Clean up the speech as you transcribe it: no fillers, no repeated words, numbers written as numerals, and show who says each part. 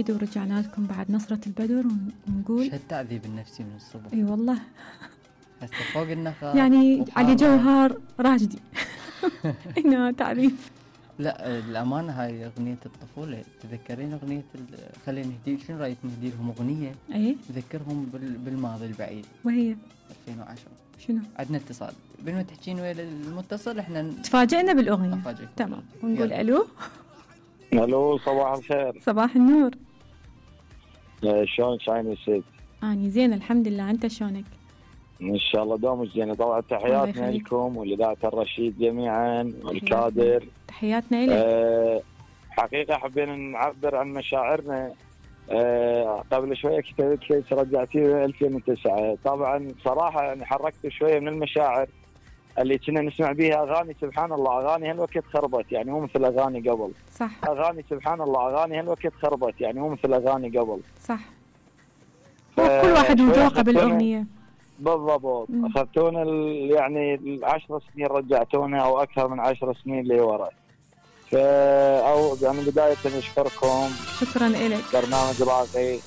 Speaker 1: أكيد ورجعنا لكم بعد نصرة البدر ونقول
Speaker 2: شو التعذيب النفسي من الصبح.
Speaker 1: اي والله
Speaker 2: هسه فوق النخا
Speaker 1: يعني علي جوهر راشدي هنا تعريف.
Speaker 2: لا الأمانة هاي أغنية الطفولة. تذكرين أغنية خلينا نهدي، شنو رأيك نهدي لهم أغنية
Speaker 1: ايه
Speaker 2: تذكرهم بالماضي البعيد؟
Speaker 1: وهي
Speaker 2: 2010.
Speaker 1: شنو؟
Speaker 2: عندنا اتصال بين ما تحكين ويا المتصل احنا
Speaker 1: تفاجئنا بالأغنية.
Speaker 2: نفاجئكم.
Speaker 1: تمام ونقول
Speaker 2: يلا.
Speaker 1: ألو.
Speaker 3: الو صباح الخير.
Speaker 1: صباح النور.
Speaker 3: شلون شاين الست؟
Speaker 1: أني زين الحمد لله، أنت شلونك؟
Speaker 3: ان شاء الله دوم زين. طبعا
Speaker 1: الله
Speaker 3: تحياتنا
Speaker 1: يخليك.
Speaker 3: لكم ولذات الرشيد جميعا والكادر.
Speaker 1: تحياتنا لك.
Speaker 3: حقيقه حبينا نعبر عن مشاعرنا. قبل شويه كتبت لك رجعتي 2009. طبعا صراحه يعني حركت شويه من المشاعر اللي كنا نسمع بيها اغاني. سبحان الله اغاني هالوقت خربت، يعني مو مثل اغاني قبل.
Speaker 1: صح
Speaker 3: اغاني سبحان الله اغاني هالوقت خربت، يعني مو مثل اغاني قبل.
Speaker 1: صح. كل واحد وذوقه بالأغنية.
Speaker 3: بالضبط. اخذتونا يعني 10 سنين رجعتونا او اكثر من 10 سنين لورا. او يعني بدايه نشكركم.
Speaker 1: شكرا لك.
Speaker 3: برنامج راقي